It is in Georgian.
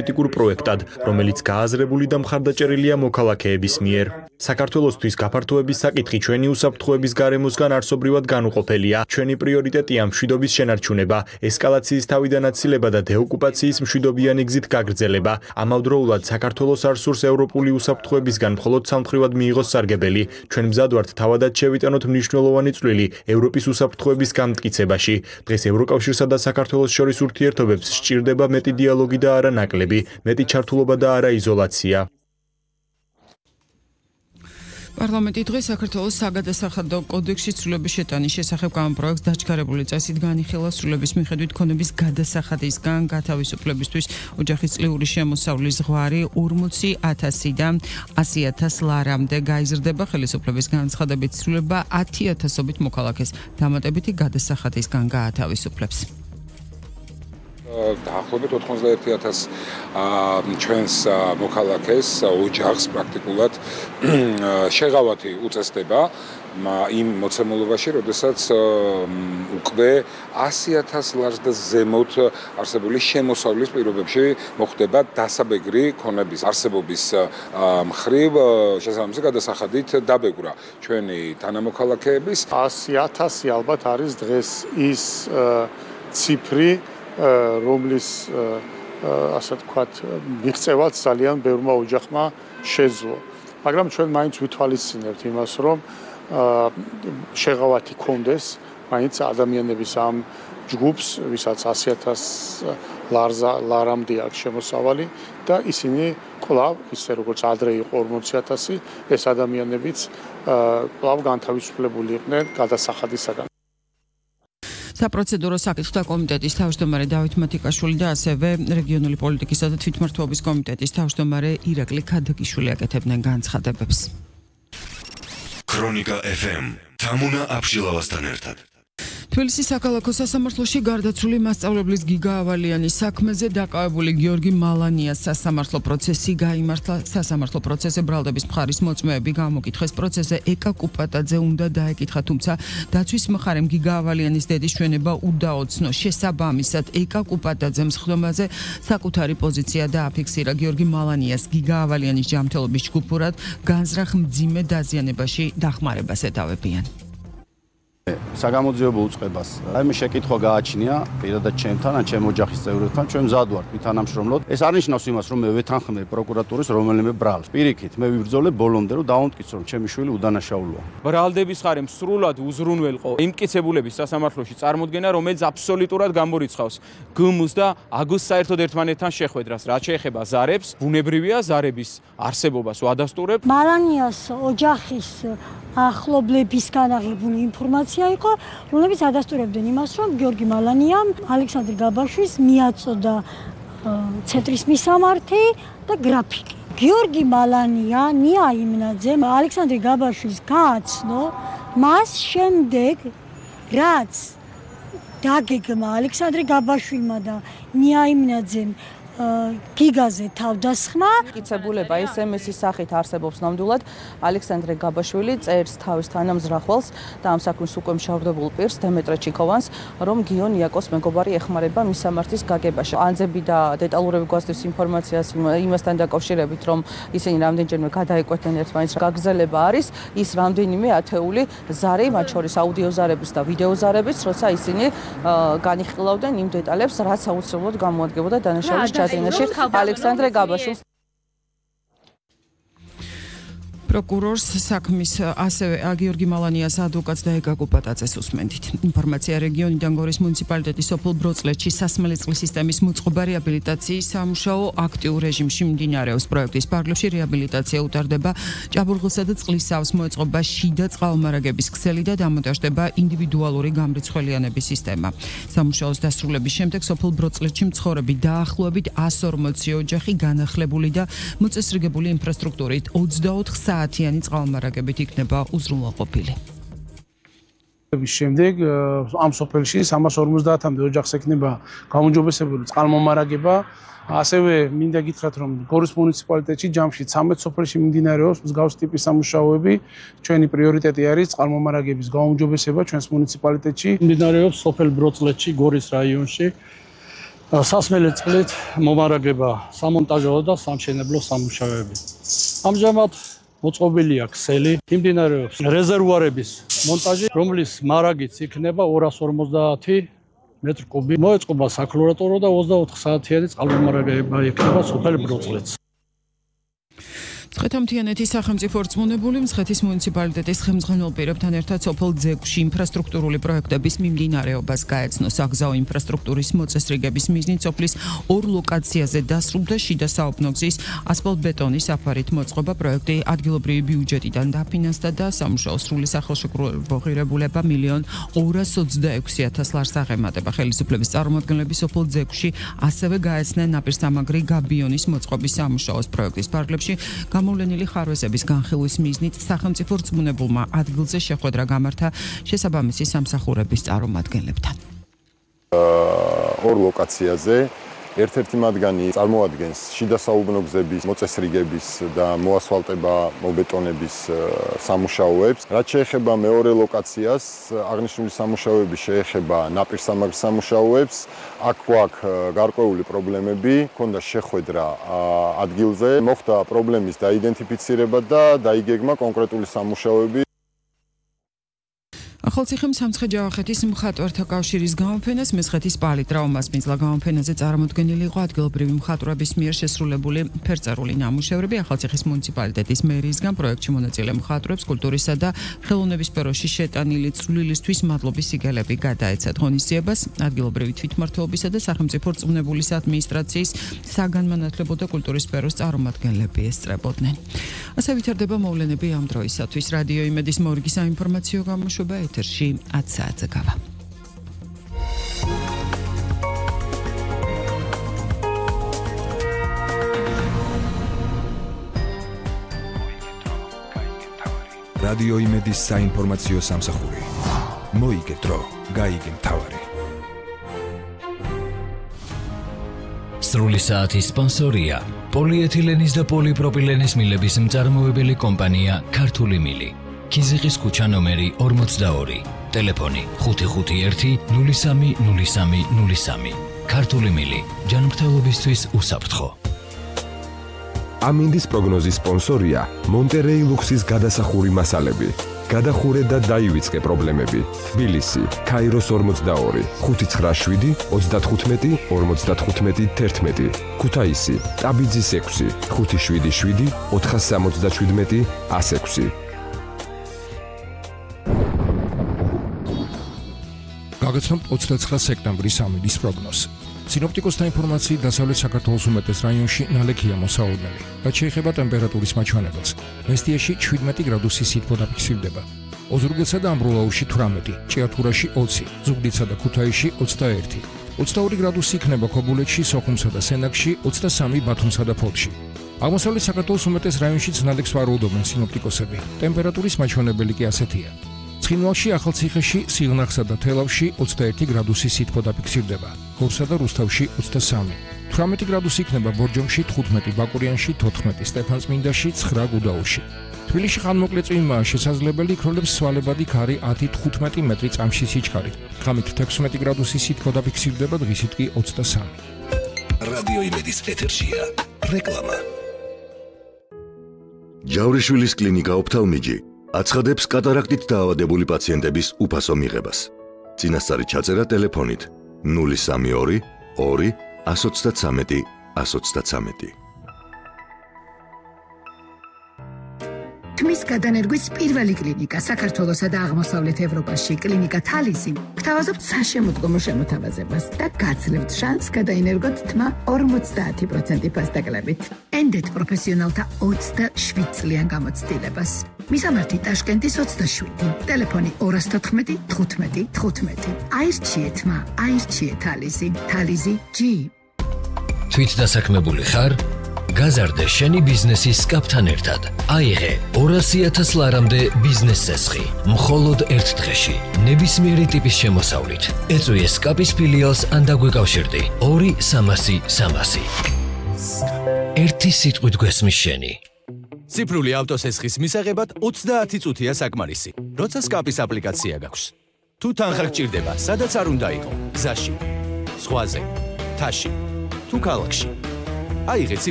ეთიკურ პროექტად, რომელიც გააზრებული და მხარდაჭერილია მოქალაქეების მიერ. საქართველოსთვის გაფართოების საკითხი ჩვენი უსაფრთხოების გარემოსგან არსობრივად განუყოფელია. ჩვენი პრიორიტეტია მშვიდობის შენარჩუნება, ესკალაციის თავიდან აცილება და დეოკუპაციის მშვიდობიანი გზით გაგრძელება. ამავდროულად საქართველოს არ სურს ევროპული უსაფრთხოებისგან მხოლოდ სამხრივად მიიღოს სარგებელი. ჩვენ მზად ვართ თავადაც შევიტანოთ მნიშვნელოვანი წვლილი ევროპის უსაფრთხოების განმტკიცებაში. დღეს ევროკავშირსა და საქართველოს შორის ურთიერთობებს სჭირდება მეტი დიალოგი და არა ნაკლები, მეტი ჩართულობა და არა იზოლაცია. პარლამენტი დღეს საქართველოს საგადასახადო კოდექსში ცვლილების შეტანის შესახებ გამოპროექტს დაჩქარებული წესით განიხილა ცვლილების მიხედვით ქონების გადასახადისგან გათავისუფლებისთვის ოჯახის წლიური შემოსავლის ზღვარი 40,000-დან 100,000 ლარამდე გაიზრდება. ხელისუფლების განცხადებით ცვლილება 10,000-ობით მოქალაქეს დამატებითი გადასახადისგან გაათავისუფლებს. დაახლოებით 91,000 ჩვენს მოქალაქეს ოჯახს პრაქტიკულად შეღავათი უწესდება იმ მოცემულობაში, როდესაც უკვე 100,000 ლარს და ზემოთ არსებული შემოსავლის პირობებში მოხდება დასაბეგრი ქონების არსებობის მხრივ შესაბამისი გადასახადით დაბეგრვა ჩვენი თანამოქალაქეების. 100,000 ალბათ არის დღეს ის ციფრი, რომლის ასე ვთქვათ, მიღწევაც ძალიან ბევრმა ოჯახმა შეძლო. მაგრამ ჩვენ მაინც ვითვალისწინებთ იმას, რომ შეღავათი კონდეს მაინც ადამიანების ამ ჯგუფს, ვისაც 100,000 ლარამდე აქვს შემოსავალი და ისინი კვლავ, ისე როგორც ადრე იყო 40,000, ეს ადამიანებიც კვლავ განთავისუფლებული იყვნენ გადასახადისაგან. საპროცედურო საკითხთა კომიტეტის თავმჯდომარე დავით მათიკაშვილი და ასევე რეგიონული პოლიტიკისა და თვითმმართველობის კომიტეტის თავმჯდომარე ირაკლი ქადაგიშვილი აკეთებდნენ განცხადებებს. ქრონიკა FM თამუნა აბშილავასთან ერთად. თბილისის საქალაქო სასამართლოში გარდაცვლილი მასწავლებლის გიგა ავალიანის საქმეზე დაკავებული გიორგი მალანიას სასამართლო პროცესი გაიმართლა. სასამართლო პროცესზე ბრალდების მხარის მოწმეები გამოკითხეს. პროცესზე ეკა კუპატაძე უნდა დაეკითხა, თუმცა დაცვის მხარემ გიგა ავალიანის დედის ჩვენება უდაოცნო. შესაბამისად ეკა კუპატაძემ სხდომაზე საკუთარი პოზიცია დააფიქსირა. გიორგი მალანიას გიგა ავალიანის ჯანმრთელობის ჯგუფურად განზრახ მძიმე დაზიანებაში დახმარებას ეთავებიან. საგამოძიებო უწყებას. აი მე შეკითხვა გააჩნია პირადად ჩემთან, ან ჩემ ოჯახის წევრებთან, ჩვენ მზად ვართ ვითანამშრომლოთ. ეს არ ნიშნავს იმას, რომ მე ვეთანხმე პროკურატურის რომელიმე ბრალს. პირიქით, მე ვიბრძოლე ბოლომდე, რომ დავამტკიცო, რომ ჩემი შვილი უდანაშაულოა. ბრალდების მხარემ სრულად უზრუნველყო იმ მტკიცებულების სასამართლოში წარმოდგენა, რომელიც აბსოლუტურად გამორიცხავს გმ-ს და აგ-ს საერთოდ ერთმანეთთან შეხვედრას. რაც შეეხება ზარებს, ბუნებრივია ზარების არსებობას ვადასტურებ. მალანიას ოჯახის ახლობლებისგან აღებული ინფორმაცია იყო, რომლებიც ადასტურებდნენ იმას, რომ გიორგი მალანიამ ალექსანდრე გაბაშვილს მიაწოდა ცენტრის მისამართი და გრაფიკი. გიორგი მალანია ნია იმნაძემ ალექსანდრე გაბაშვილს გააცნო მას შემდეგ, რაც დაგეგმა ალექსანდრე გაბაშვილმა და ნია იმნაძემ გიგაზე თავდასხმა. მტკიცებულება SMS-ის სახით არსებობს ნამდვილად. ალექსანდრე გაბაშვილი წერს თავის თანამზრახველს და ამ საქმის უკვე მშავდებულ პირს დემეტრე ჩიკოვანს, რომ გიონ იაკოს მეგობარი ეხმარება მისამართის გაგებაში. ანძები და დეტალურები გვასდევს ინფორმაციას იმასთან დაკავშირებით, რომ ისინი რამდენჯერმე გადაეკვეთნენ ერთმანეთს. გაგრძელება არის ის რამდენიმე ათეული ზარი, მათ შორის აუდიო ზარების და ვიდეო ზარების, როცა ისინი განიხილავდნენ იმ დეტალებს, რაც აუცილებლად გამოადგებოდა დანაშაულის ალექსანდრე გაბაშვილს. პროკურორს საქმის ასევე გიორგი მალანიას ადვოკატს და ეკა კუპატაძეს უსმენდით. ინფორმაცია რეგიონიდან გორის მუნიციპალიტეტის სოფელ ბროცლეთში სასმელი წყლის სისტემის მოწყობა რეაბილიტაციის სამუშაო აქტიურ რეჟიმში მიმდინარეობს. პროექტის ფარგლებში რეაბილიტაცია უტარდება, ჭაბურღილსა და წყლისაავს მოეწყობა შიდა წყალმარაგების ქსელი და დამონტაჟდება ინდივიდუალური გამრიცხველიანების სისტემა. სამუშაოს დასრულების შემდეგ სოფელ ბროცლეთში მცხოვრები დაახლოებით 140 ოჯახი განახლებული და მოწესრიგებული ინფრასტრუქტურით 24 საათიანი წყალმარაგებით იქნება უზრუნველყოფილი. შემდეგ ამ სოფელში 350-მდე ოჯახს ექნება გაუმჯობესებული წყალმომარაგება. ასევე მინდა გითხრათ, რომ გორის მუნიციპალიტეტში ჯამში 13 სოფელში მიმდინარეობს მსგავს ტიპის სამუშაოები. ჩვენი პრიორიტეტი არის წყალმომარაგების გაუმჯობესება ჩვენს მუნიციპალიტეტში. მიმდინარეობს სოფელ ბროცლეთში, გორის რაიონში. სასმელი წყლით მომარაგება სამონტაჟო და სამშენებლო სამუშაოები. ამჟამად მოწყობილია ქსელი, მიმდინარეობს რეზერვუარების მონტაჟი, რომლის მარაგიც იქნება 250 მეტრ კუბი. მოეწყობა საკლორატორო და 24 საათიანი წყალმომარაგება იქნება სოფელ ბროწლეთს. მცხეთა-მთიანეთის სახელმწიფო რწმუნებული მცხეთის მუნიციპალიტეტის ხელმძღვანელ პირებთან ერთად სოფელ ძეგლში ინფრასტრუქტურული პროექტების მიმდინარეობას გაეცნო. საგზაო ინფრასტრუქტურის მოწესრიგების მიზნით სოფლის 2 ლოკაციაზე დასრულდა შიდა საოფნო გზის ასფალტბეტონის საფარით მოწყობა. პროექტი ადგილობრივი ბიუჯეტიდან დაფინანსდა და სამუშაო სრული სახელშეკრულება $1,226,000 ლარს აღემატება. ხელისუფლების წარმომადგენლები სოფელ ძეგლში ასევე გაეცნენ ნაპირსამაგრი გაბიონის მოწყობის სამუშაოს. პროექტის ფარგლებში გამოვლენილი ხარვეზების განხილვის მიზნით სახელმწიფო რწმუნებულმა ადგილზე შეხვედრა გამართა შესაბამისი სამსახურების წარმომადგენლებთან. 2 ლოკაციაზე ერთ-ერთი მათგანი წარმოადგენს შიდა საუბნო გზების მოწესრიგების და მოასფალტება, მობეტონების სამუშაოებს. რაც შეეხება მეორე ლოკაციას, აღნიშნული სამუშაოები შეეხება ნაპირსამაგრ სამუშაოებს. აქ გვაქვს გარკვეული პრობლემები, ჰქონდა შეხვედრა ადგილზე, მოხდა პრობლემის დაიდენტიფიცირება და დაიგეგმა კონკრეტული სამუშაოები. ახალციხემ სამცხე-ჯავახეთის მხატვართა კავშირის გამოფენას მესხეთის პალიტრაუმასპინძლა გამოფენაზე წარმოდგენილი იყო ადგილობრივი მხატვრების მიერ შესრულებული ფერწერული ნამუშევრები. ახალციხის მუნიციპალიტეტის მერიისგან პროექტში მონაწილე მხატვრებს კულტურისა და ხელოვნების სფეროში შეტანილი წვლილისთვის მადლობის სიგელები გადაეცათ. ღონისძიებას ადგილობრივი თვითმმართველობისა და სახელმწიფო რწმუნებულის ადმინისტრაციის საგანმანათლებლო და კულტურის სფეროს წარმომადგენლები ესწრებოდნენ. ასე ვითარდება მოვლენები ამ დროისათვის. რადიო იმედის მორიგი საინფორმაციო გამოშვება ეთერში 10 საათზე გავა. რადიო იმედის საინფორმაციო სამსახური. მოიგე დრო, გაიგე მთავარი. სრული საათის სპონსორია პოლიეთილენის და პოლიპროპილენის მილების მწარმოებელი კომპანია ქართული მილი. ქიზიყის ქუჩა ნომერი 42, ტელეფონი 551 03 03 03. ქართული მილი, ჯანმრთელობისთვის უსაფრთხო. ამინდის პროგნოზის სპონსორია მონტერეი ლუქსის გადასახური მასალები. გადახურე და დაივიწყე პრობლემები. თბილისი, ქაიროს 42, 597 35 55 11. ქუთაისი, ტაბიძის 6, 577 477 106. გაგაცნობთ 29 სექტემბრის ამინდის პროგნოზს. სინოპტიკოსთა ინფორმაციით დასავლეთ საქართველოს უმეტეს რაიონში ნალექია მოსაოდნელი. რაც შეეხება ტემპერატურის მაჩვენებელს, მესტიაში 17 გრადუსი სითბო დაფიქსირდება. ოზურგეთსა და ამბროლაურში 18, ჭიათურაში 20, ზუგდიდსა და ქუთაისში 21. 22 გრადუსი იქნება ქობულეთში, სოხუმსა და სენაკში, 23 ბათუმსა და ფოთში. აღმოსავლეთ საქართველოს უმეტეს რაიონშიც ნალექს ვარაუდობენ სინოპტიკოსები. ტემპერატურის მაჩვენებელი კი ასეთია. ცხინვალში, ახალციხეში, სიღნაღსა და თელავში 21 გრადუსი სითბო დაფიქსირდება. გორსა და რუსთავში 23. 18 გრადუსი იქნება ბორჯომში, 15 ბაკურიანში, 14 სტეფანწმინდაში, 9 გუდაუთში. თბილისში ხანმოკლე წვიმაა შესაძლებელი, იქროლებს სვალებადი ქარი 10-15 მეტრი წამში სიჩქარით. ღამით 16 გრადუსი სითბო დაფიქსირდება, დღისით კი 23. რადიო იმედის ეთერშია რეკლამა. ჯავრიშვილის კლინიკა ოფთალმიჯი აცხადებს კატარაქტით დაავადებული პაციენტების უფასო მიღებას. წინასწარი ჩაწერა ტელეფონით 032 2 133 133. თმის გადანერგვის პირველი კლინიკა საქართველოსა და აღმოსავლეთ ევროპაში კლინიკა თალისი გთავაზობთ საშემოდგომო შემოთავაზებას და გაძლევთ შანსს გადაინერგოთ თმა 50% ფასდაკლებით. ენდეთ პროფესიონალთა 27 წლიან გამოცდილებას. მისამართი ტაშკენტის 27, ტელეფონი 214 15 15. აირჩიეთ თმა, აირჩიეთ თალისი, თალისი G. თვითდასაქმებული ხარ? გაზარდე შენი ბიზნესის სკაპთან ერთად. აიღე 200,000 ლარამდე ბიზნეს წესხი. მხოლოდ ერთ დღეში. ნებისმიერი ტიპის შემოსავლით. ეწვიე სკაპის ფილიალს ან დაგვეკავშირდი 2-300 300. ერთი სიტყვით გვესმის შენი. ციფრული ავტოსესხის მისაღებად 30 წუთია საკმარისი. როცა სკაპის აპლიკაცია გაქვს. თუ თანხა გჭირდება, სადაც არ უნდა იყო, გზაში, ზღვაზე, მთაში თუ ქალაქში. აიღე ციფრული